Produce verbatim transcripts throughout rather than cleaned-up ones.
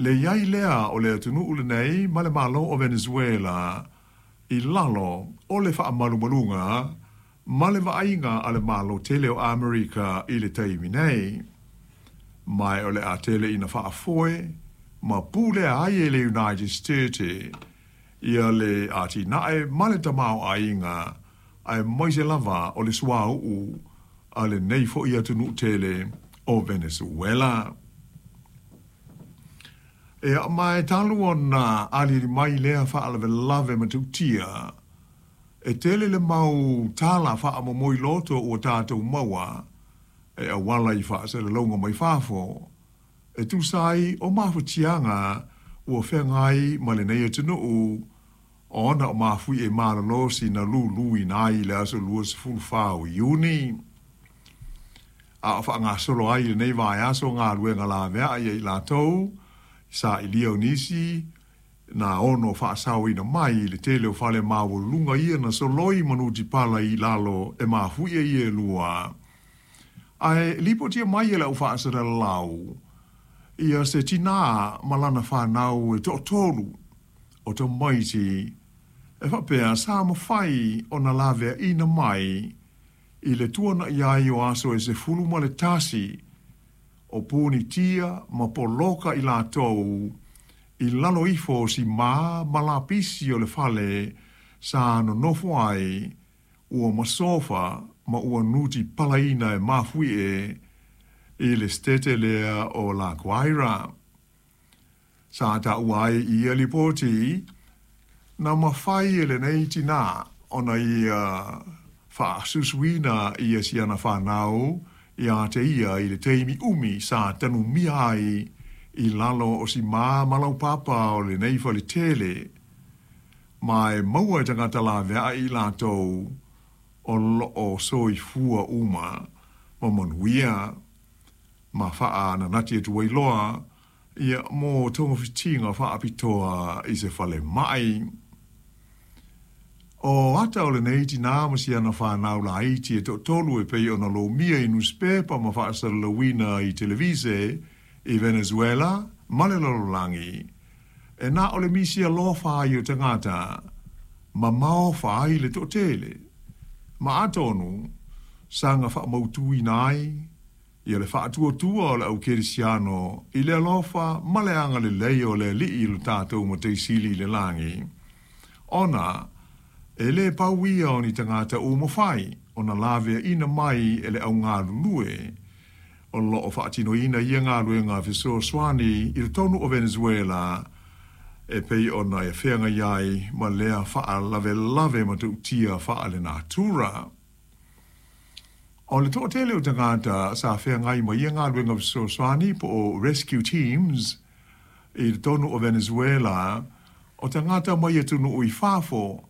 Le i ai lea o le atunuu lenei ma le Malo o Venezuela i lalo o le faamalumaluga ma le vaaiga a le Malo tele o Amerika i le taimi nei. Ma o le a tele ina faafoe ma pulea ai e le United States ia le atinae ma le tamaoaiga aemaise lava o le suauu a lenei foi atunuu tele o Venezuela. Ia ma e talu ona aliali mai lea faalavelave matautia, e tele le mau tala faamomoi loto ua tatou maua e auala i faasalalauga mai fafo, e tusa ai o mafatiaga ua feagai ma lenei atunuu ona o mafuie malolosi na luluina ai i le aso luasefulufa o Iuni. A o faagasolo ai lenei vaiaso galuega laveai ia i latou sailia o nisi na ono faasaoina mai i le tele o fale maualuluga ia na soloi ma nutipala i lalo e mafuie ia e lua. Ae lipotia mai e le aufaasalalau ia se tinā ma lana fanau e toatolu o tamaiti e faapea sa mafai ona laveaina mai i le tuana'i ai o aso e sefulu ma le tasi o punitia ma poloka i latou i lalo ifo o simā ma lapisi o le fale sa nonofo ai ua masofa ma ua nutipalaina e mafuie i le setete lea o La Guaira. Sa taua ai i ia lipoti na mafai e lenei tinā ona ia faasusuina ia si ana fanau ia te ia i le taimi umi sa tanumia ai i lalo o simā ma laupapa o lenei faletele, ma e maua e tagata laveai i latou o loo soifua uma ma manuia ma faananati atu ai loa ia mo togafitiga faapitoa i se falemai. O ata o lenei tinā ma si ana fanau laiti e toatolu e pei ona lomia i nuspepa ma faasalalauina i televise i Venezuela ma le lalolagi, e na o le misi alofa ai o tagata ma maofa ai le toatele, ma atonu saga faamautuina ai ia le faatuatua o le au kerisiano i le alofa ma le agalelei o le Alii lo tatou Matai Sili i le lagi, ona e lē pau ia o ni tagata ua mafai ona laveaina mai e le augalulue o loo faatinoina ia galuega fesoasoani i totonu o Venezuela e pei ona e feagai ai ma lea faalavelave matautia faalenatura. O le toatele o tagata sa feagai ma ia galuega fesoasoani po o rescue teams i totonu o Venezuela o tagata mai atunuu i fafo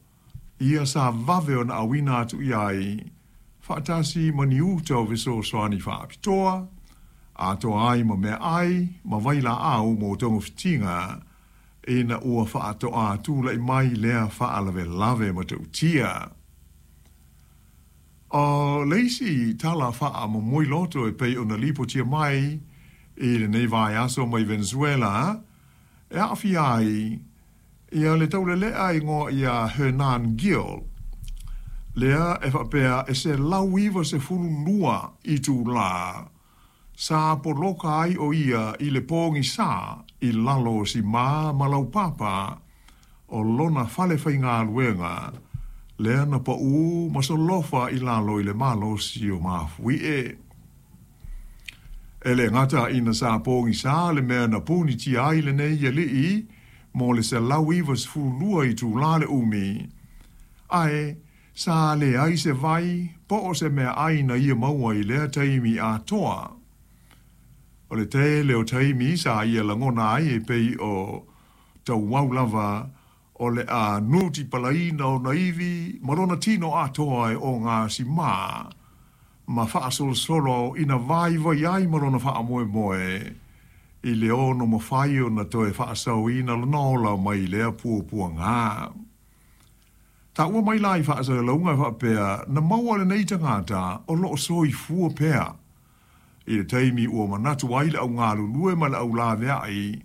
ia sa vave ona auina atu i ai faatasi ma ni uta o fesoasoani faapitoa, atoa ai ma meaai ma vailaau mo togafitiga ina ua faatoa tula'i mai lea faalavelave matautia. O le isi tala faamomoi loto e pei ona lipotia mai i lenei vaiaso mai Venezuela e aafia ai ia le taulelea igoa ia Hernan Gil, lea e faapea e selau iva sefulu lua itulā sa poloka ai o ia i le pogisā i lalo o simā ma laupapa o lona fale faigaluega lea na paū ma solofa i lalo i le malosi o mafuie. E le gata ina sa pogisā le mea na punitia ai lenei alii mo le selau iva sefulu lua itulā le umi, ae sa leai se vai po o se meaai na ia maua i lea taimi atoa. O le tele o taimi sa ia lagona ai e pei o tauau lava o le a nutipalaina ona ivi ma lona tino atoa e ogasimā ma faasolosolo ina vaivai ai ma lona faamoemoe i le ono mafai ona toe faasaoina lona ola mai lea puapuaga. Taua mai la i faasalalauga e faapea na maua lenei tagata o loo soifua pea i le taimi ua manatu ai le augalulue ma le aulaveai